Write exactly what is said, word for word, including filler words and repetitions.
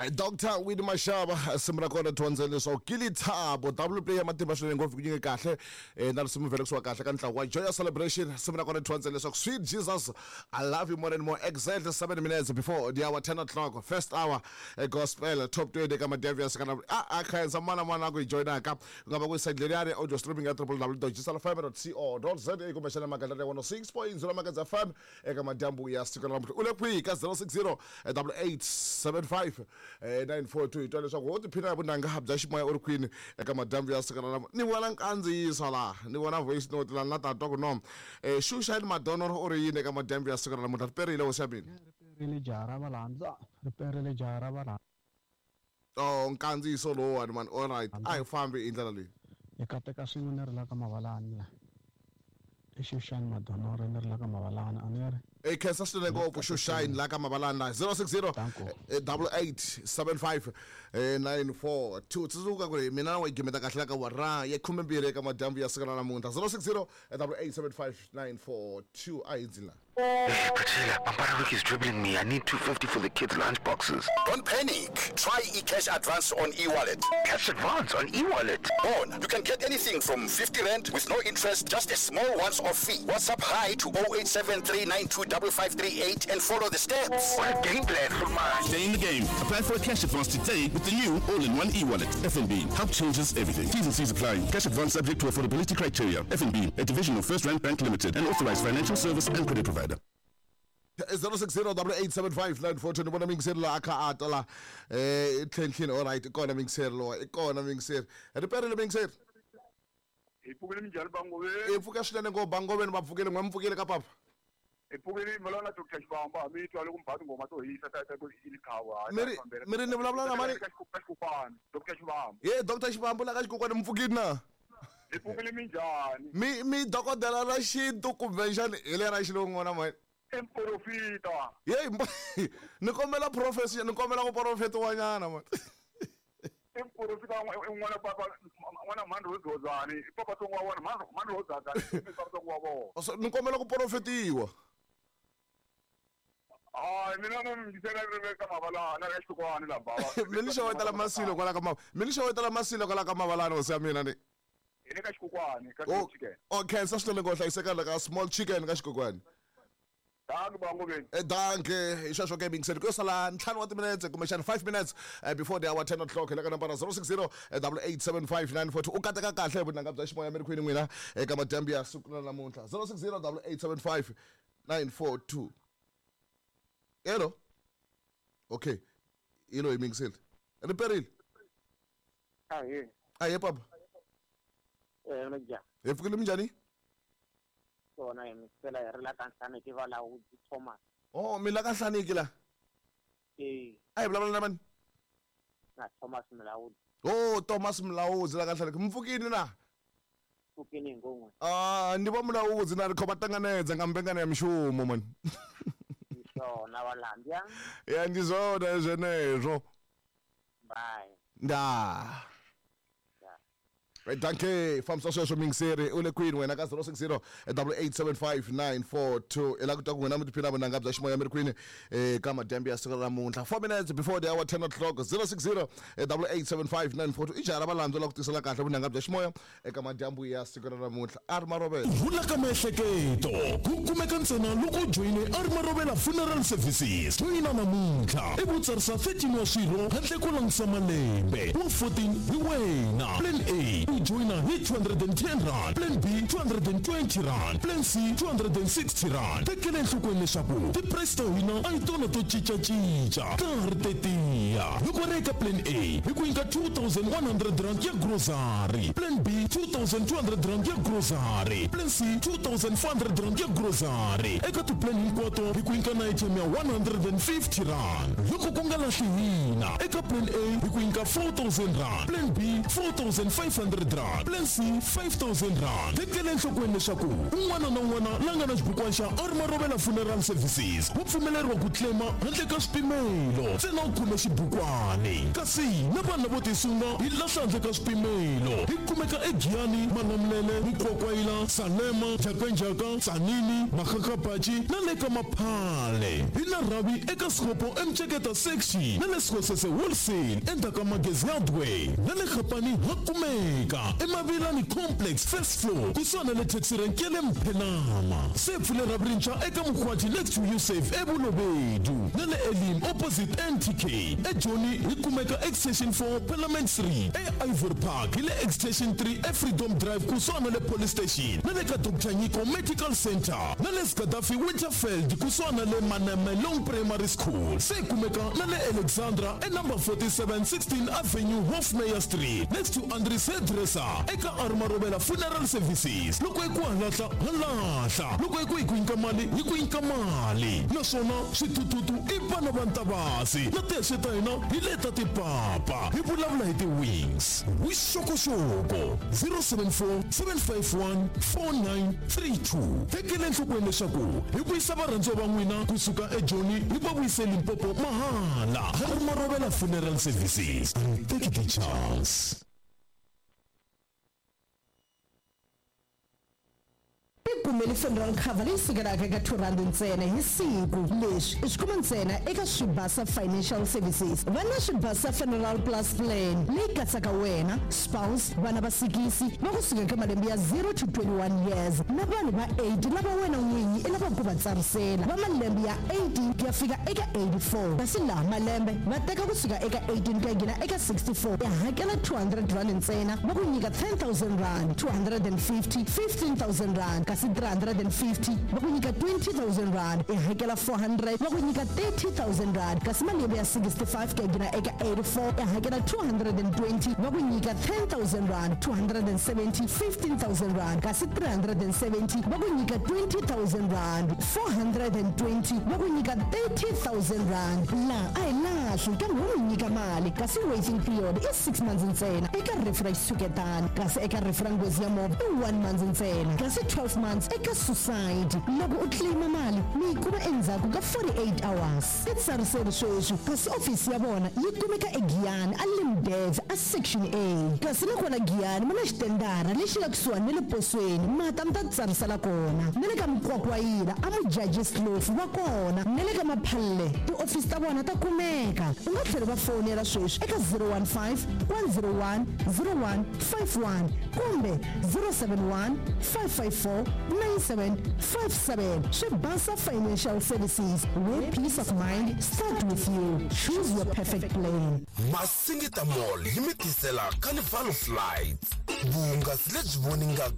Doctor Winnie Mashaba risimu ra kona dyondza leswaku Kilithabo double play ya matimba swinene ngopfu ku nyike kahle eh, na risimu vhele kahle ka ntlawa wa Joyous Celebration. Risimu ra kona dyondza leswaku Sweet Jesus, I love you more and more. Exactly seven minutes before the hour ten o'clock, first hour eh, gospel top twenty ka Madavias kana a a khensa mana mana ku hi joinaka ku nga va ku side leriyani audio streaming ya w w w dot gsl f m dot co dot za kumbexana magandlati ya one oh six point zero Magandla F M eka madyambu ya siku ra namuntlha. U le kwihi ka zero six zero eight eight seven five nine four two? Hi twa leswaku wo tiphina hi vunanga bya ximoya u ri kwini eka madyambu ya siku ra namuntlha. Ni vona nkandziyiso laha, ni vona voice note laha na ta twa ku no eh Shushine Madonoro u ri yini eka madyambu ya siku ra namuntlha. Ri perile, hosi ya mina. Ri perile jaha ra valandza, ri perile jaha ra valandza. Oh, nkandziyiso lowuwani mani. All right, a hi fambi hi ndlela leyi. Hi kateka swin'we. Ni ri la ka Mavalani la, i Xuxani Madonoro, ni ri la ka Mavalani a ni ri. E khensa swinene ngopfu, Shushine la ka Mavalani la zero six zero Danko. eight eight seven five nine four two. Tsundzuka ku ri mina na wa yi gimeta kahle la ka wara ya khumembirhi eka madyambu ya siku ra namuntlha. zero six zero eight eight seven five nine four two. A hi ndzi la. Hey, Priscilla, Pampara is dribbling me. I need two fifty for the kids' lunch boxes. Don't panic. Try eCash Advance on eWallet. Cash advance on e-wallet? On. You can get anything from fifty rand with no interest, just a small once-off fee. WhatsApp "hi" to oh eight seven three nine two five five three eight and follow the steps. What a game plan for mine. Stay in the game. Apply for a cash advance today with the new all-in-one e-wallet. F N B. Help changes everything. T's and C's apply. Cash advance subject to affordability criteria. F N B, a division of First Rand Bank Limited, an authorized financial service and credit provider. zero six zero eight eight seven five nine four two. Ni vona mingiseri laha a kha a ta la eh tlhentlheni. All right, i kona mingiseri lowa, i kona mingiseri. Ri perile, mingiseri. Hi pfukile, minjhani Bangoveni? I pfuka swinene ngopfu, Bangoveni. Va pfukile n'we? Mi pfukile ka papa? Hi pfukile valana Doctor Xivamba, mi twa loko mi ba tinghoma to hisa ta ta ku ilikhava. Mi ri- mi ri ni vulavula na mani? Ka xikukwana, Doctor Xivamba. Ye Doctor Xivambu la ka xikokwani, mi pfukile na? Hi pfukile, minjhani? Mi mi dokodela ra xintu kumbe njhani hi le ra xilungu na mani? I mprofita. Yeyi, mbo- ni kombela profesi, ni kombela ku profetiwanyana man. I mprofita n'wana papa, n'wana mhani Rozozani, i papa tsongo wa vona, mhani Rozazani i papa tsongo wa vona. So, ni kombela ku profetiwa. Hayi, mina no mi ri ka Mavalana ka xikwani la bava. Mi ni xewetela masilo kwala ka ma mi ni xewetela masilo kwala ka Mavalana, hosi ya mina ni. Hi le ka xikokwani ka O Small Chicken. O khensa swinene ngo hlayiseka la ka Small Chicken ka xikokwani. Thank you, Bangoveni. Eh, danke. Hi sweswo ke, mingiseni ku yo sala ntlhanu wa timinetse kumbexana five minutes eh, before the hour ten o'clock. Hi le ka nambara zero six zero eight eight seven five nine four two. U kateka kahle hi vunanga bya ximoya mi ri kwini n'wina eka madyambu ya siku ra namuntlha? zero six zero eight eight seven five nine four two. Hello, okay, ilo hi mingiseli. Ri perile. Ahee. Ahe papa. Eh, minjhani? Hi pfukile, minjhani? Swona, hi misela hi ri la ka Nhlaneki, Valawudzi Thomas. Oh, mi la ka Nhlaneki la? Eh. A hi vulavula na mani? Na Thomas Mlawudzi. Oh, Thomas Mlawudzi la ka Nhlaneki, mi pfukini na? Pfukini hingon'we. Ah, ndi va Mulaudzi na ri kho va ṱanganedza nga mbengano ya mishumo mani. Ndi swona, Valambya. Ya, ndi zwone zwenezwo. Bye. Ndaa. Right, danke. Fambisa sweswo, mingiseri. U le kwini wena ka zero six zero eight eight seven five nine four two? I lava ku twa ku n'wina mi tiphina vunanga bya ximoya mi ri kwini eh, ka madyambu ya siku ra namuntlha. four minutes before the hour ten o'clock, zero six zero eight eight seven five nine four two. I jaha ra valandzu la ku tisela kahle vunanga bya ximoya eka madyambu ya siku ra namuntlha. A ri marovela. Rhula ka miehleketo ku kumeka ntsena loko u joyine a ri Marovela Funeral Services. Joyina namuntlha i ku tsarisa thirteen wa swirho handle ko langutisa malembe, wa fourteen hi wena. Plan A, u joyina hi two hundred and ten rand, plan B two hundred and twenty rand, plan C two hundred and sixty rand. Tekela enhlokweni leswaku ti-price ta hina a hi tona to cincacinca, ta ha ri tetiya. Loko ri eka plan A, hi ku nyika two thousand one hundred rand ya grocery, plan B two thousand two hundred rand ya grocery, plan C two thousand four hundred rand ya grocery. Eka tiplan hinkwato hi ku nyika na airtime ya one hundred and fifty rand. Loko ku nga lahli hina, eka plan A hi ku nyika four thousand rand, plan B four thousand five hundred. hundred rand, plan C five thousand rand. Tekela enhlokweni leswaku un'wana na un'wana la nga na xibukwana xa Armarovela Funeral Services wa pfumeleriwa ku claima handle ka swipimelo, ntsena u khome xibukwani. Kasi na vanhu lavo tisunga hi lahla handle ka swipimelo. Hi kumeka eGiyani, Malamulele, Mukwakwayila, Salema, Njhakanjhaka, Tzaneen, Makgakgapatši na le ka Maphale. Hi na rhavi eka Sekgopo eMtsheketa section na le Sekgosese wholesale endzhaku ka Magezi Hardware. Na le Gapani ha kumeka eMavilani Complex first floor kusuhani na le taxi rank ya le Mphenama. Se pfule rhavi rintshwa eka Mokgwathi next to Usave eBolobedu na le Elim opposite N T K. eJoni hi kumeka extension four Parliament three, e-Ivory Park hi le extension three eFreedom Drive kusuhani na le police station na le ka Doctor Nyiko Medical Center na le Gaddafi Winterfeld kusuhani na le Manamelong Primary School. Se kumeka na le Alexandra e number forty-seven sixteen Avenue Hofmeyr Street next to Andries Hairdresser eka Armarovela Funeral Services. Loko hi ku halahla halahla, loko hi ku hi ku nyika mali hi ku nyika mali. Naswona switututu i vana va Ntavasi na tihexe ta hina hi leta tipapa. Hi vulavula hi ti-wings. Vuxokoxoko zero seven four seven five one four nine three two. Tekela enhlokweni leswaku hi vuyisa varhandziwa va n'wina kusuka eJoni hi va vuyise Limpopo mahala. Armarovela Funeral Services, take the chance. Kumele funeral cover leyi sukelaka eka two rand ntsena hi siku. Leswi i swi kuma ntsena eka Swibasa Financial Services. Va na Swibasa Funeral Plus Plan leyi katsaka wena, spouse, vana va sikisi va kusuka eka malembe ya zero to twenty-one years na vanhu va eight lava wena n'winyi i lavaka ku va tsarisela va malembe ya eighteen ku ya fika eka eighty-four. Kasi laha malembe va teka kusuka eka eighteen ku ya nghena eka sixty-four, ya hakela two hundred rand ntsena, va ku nyika ten thousand rand, two hundred and fifty, fifteen thousand rand, kasi three hundred and fifty va ku nyika twenty thousand rand, i hakela four hundred va ku nyika thirty thousand rand. Kasi malembe ya sixty-five ku ya nghena eka eighty-four, i hakela two hundred and twenty va ku nyika ten thousand rand, two hundred and seventy, fifteen thousand rand, kasi three hundred and seventy va ku nyika twenty thousand rand, four hundred and twenty va ku nyika thirty thousand rand. Laha a hi lahli kambe wo mi nyika mali, kasi waiting period i six months ntsena eka rifu ra xitshuketana, kasi eka rifu ra nghozi ya movha i one month ntsena, kasi twelve months eka suicide. Loko u claima mali mi yi kuma endzhaku ka forty-eight hours. I tsariseri sweswi, kasi ofisi ya vona yi kumeka eGiyani a Limdev a section A. Kasi nakona Giyani ma na xitendara lexi nga kusuhani na le posweni, mata mi ta tsarisela kona. Na le ka Mukwakwayila a Mujaji Slofu va kona, na le ka Maphalle tiofisi ta vona ta kumeka. U nga tlhela va fonela sweswi eka zero one five one zero one zero one five one kumbe zero seven one five five four nine seven five seven. Swibasa Financial Services, where peace of mind start with you. Choose your perfect plan. Masingita Mall yi mi tisela Carnival of Lights, vuhungasi lebyi voningaka